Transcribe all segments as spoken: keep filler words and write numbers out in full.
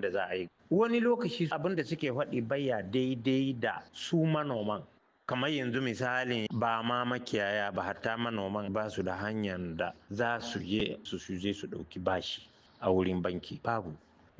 abin da za a yi. Wani lokaci abin da suke faɗi baya daidai da su manoman. Kamar yanzu misalin ba ma makiyaya ba, hatta manoman ba su da hanyar da za su je su je su ɗauki bashi a wurin banki, babu.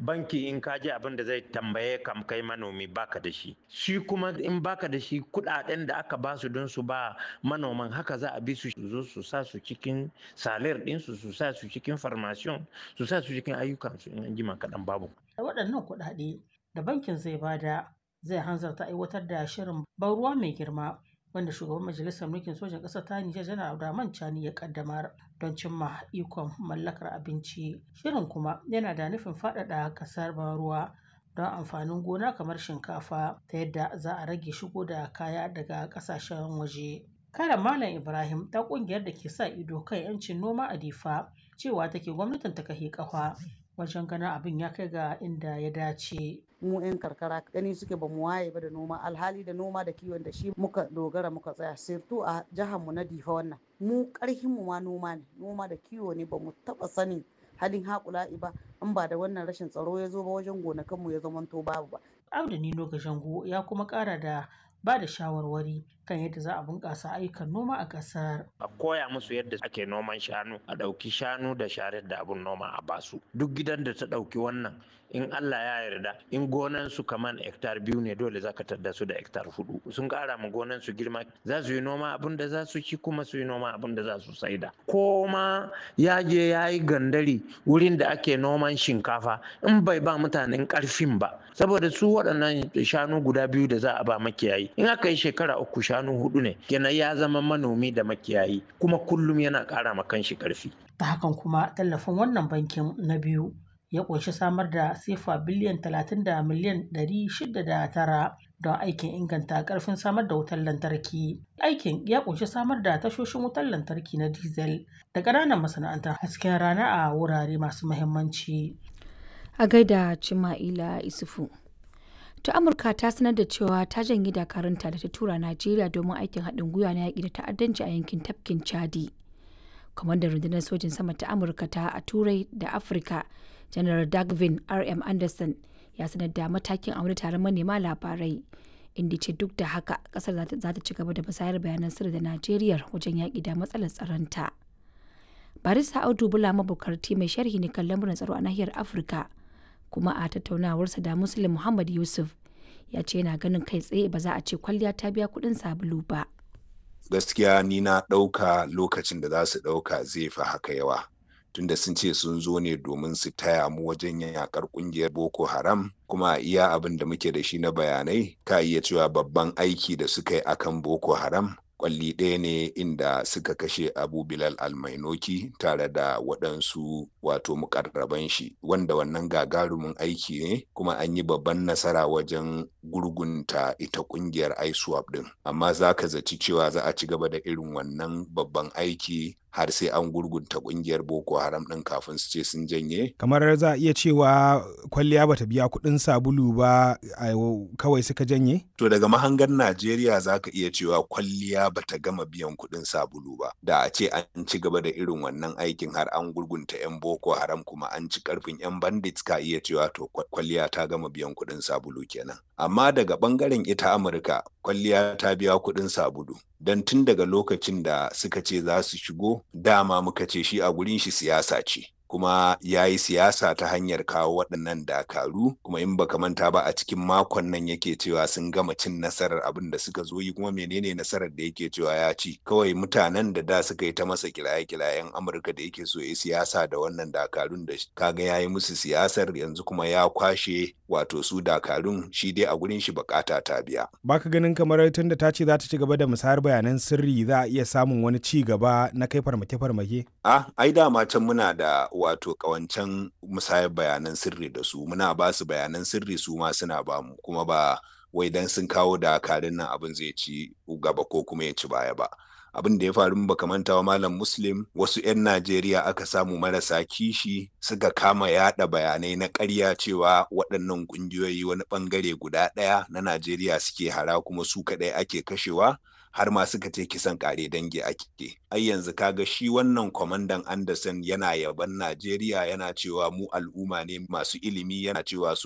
Banki in ka je, abin da zai tambaye kam kai manomi baka da shi. Shi kuma in baka da shi, kudaden da aka ba su don su ba manoman, haka za a bi su zo su sa su cikin salir ɗinsu, su sa su cikin formation, su sa su cikin ayyukansu, in an jima kaɗan babu. Waɗannan kuɗaɗe da bankin zai bada zai hanzarta aiwatar da shirin ban ruwa mai girma wanda shugaban majalisar mulkin sojan ƙasar ta Nijar Janar Abdurrahman Chani ya kaddamar don cimma ikon mallakar abinci. Shirin kuma yana da nufin faɗaɗa ƙasar ban ruwa don amfanin gona kamar shinkafa, ta yadda za a rage shigo da kaya daga ƙasashen waje. Karan Malam Ibrahim ta ƙungiyar da ke sa ido kan 'yancin noma a Difa cewa take gwamnatin ta kahe ƙafa wajen ganin abin ya kai ga inda ya dace. Mu 'yan karkara gani suke ba mu waye ba da noma, alhali da noma da kiwon da shi muka dogara muka tsaya, sirtu a jihar mu na Difa. Wannan mu karhin mu ma noma ne, noma da kiwo ne. Ba mu taba sanin halin haƙula'i ba in ba da wannan rashin tsaro ya zo ba wajen gonakan mu ya zamanto babu ba. Abdu Nino Gashango ya kuma ƙara da ba da shawarwari kan yadda za a bunƙasa ayyukan noma a ƙasar. A koya musu yadda ake noman shanu, a ɗauki shanu da sharar da abun noma a basu. Duk gidan da ta ɗauki wannan, in Allah ya yarda, in gonan su kaman hektar biyu ne, dole za ka tadda su da hektar hudu. Sun ƙara ma gonan su girma, za su yi noma abun da za su ci, kuma su yi noma abun da za su saida. Ko ma ya je ya yi gandari wurin da ake noman shinkafa, in bai ba mutanen ƙarfin ba. Saboda su waɗannan shanu guda biyu da za a ba makiyayi, in aka yi shekara uku, shanu hudu ne kenan, ya zama manomi da makiyayi, kuma kullum yana ƙara ma kanshi ƙarfi. Ta hakan kuma tallafin wannan bankin na biyu ya ƙunshi samar da sefa biliyan talatin da miliyan ɗari shida da tara don aikin inganta ƙarfin samar da wutar lantarki. Aikin ya ƙunshi samar da tashoshin wutar lantarki na diesel da ƙananan masana'antar hasken rana a wurare masu muhimmanci. A gaida Cima'ila Isufu. Ta Amurka ta sanar da cewa ta janye dakarunta da ta tura Najeriya domin aikin haɗin gwiwa na yaƙi da ta'addanci a yankin tafkin Chadi. Kwamandan rundunar sojin sama ta Amurka ta a Turai da Afirka, Janar Dagvin R M. Anderson, ya sanar da matakin a wani taron manema labarai, inda ce duk da haka kasar za ta ci gaba da musayar bayanan sirri da Najeriya wajen yaƙi da matsalar tsaronta. Barista Audu Bula Mabukarti mai sharhi ne kan lamuran tsaro a nahiyar Afirka, kuma a tattaunawarsa da Muslim Muhammad Yusuf ya ce yana ganin kai tsaye ba za a ce kwalliya ta biya kuɗin sabulu ba. Gaskiya ni na ɗauka lokacin da za su ɗauka zai fi haka yawa. Tunda sun ce sun zo ne domin su taya mu wajen yakar kungiyar Boko Haram, kuma iya abin da muke da shi na bayanai, ka iya cewa babban aiki da suka yi akan Boko Haram kwalli ɗaya ne, inda suka kashe Abu Bilal Almainoki tare da waɗansu wato mukarraban shi, wanda wannan gagarumin aiki ne, kuma an yi babban nasara wajen gurgunta ita ƙungiyar ISWAP ɗin. Amma za ka zaci cewa za a ci gaba da irin wannan babban aiki har sai an gurgunta ƙungiyar Boko Haram ɗin kafin su ce sun janye? Kamar za a iya cewa kwalliya bata biya kuɗin sabulu ba kawai suka janye? To, daga mahangar Najeriya za ka iya cewa kwalliya bata gama biyan kuɗin sabulu ba. Da a ce an ci gaba da irin wannan aikin har an gurgunta 'yan Boko Haram kuma an ci karfin 'yan bandits, ka iya cewa to kwalliya ta gama biyan kuɗin sabulu kenan. Amma daga ɓangaren ita Amurka, kwalliya ta biya kuɗin sabulu. Don tun daga lokacin da suka ce za su shigo, dama muka ce shi a gurin shi siyasa ce. Kuma ya yi siyasa ta hanyar kawo waɗannan dakaru. Kuma in baka manta ba, a cikin makon nan yake cewa sun gama cin nasarar abin da suka zo yi. Kuma menene nasarar da yake cewa ya ci? Kawai mutanen da da suka yi ta masa kiraye-kirayen Amurka da yake so ya siyasa da wannan dakarun, da kaga ya yi musu siyasar, yanzu kuma ya kwashe wato su dakarun. Shi dai a gurin shi bukata ta biya. Baka ganin kamar tunda ta ce za ta ci gaba da musayar bayanan sirri, za a iya samun wani ci gaba na kai farmake-farmake? Ah, ai dama can muna da wato kawancan musayar bayanan sirri da su. Muna ba su bayanan sirri, su ma suna ba mu. Kuma ba wai dan sun kawo dakarun nan abin zai ci gaba ko kuma ya ci baya ba. Abin da ya faru, baka manta wa Malam Muslim, wasu 'yan Najeriya aka samu marasa kishi suka kama yada bayanai na ƙarya cewa waɗannan ƙungiyoyi wani ɓangare guda ɗaya na Najeriya suke hara, kuma su kaɗai ake kashewa, har ma suka ce kisan kare dangi ake. Ai yanzu kaga shi wannan kwamandan Anderson yana yaban Najeriya, yana cewa mu al'umma ne masu ilimi, yana cewa su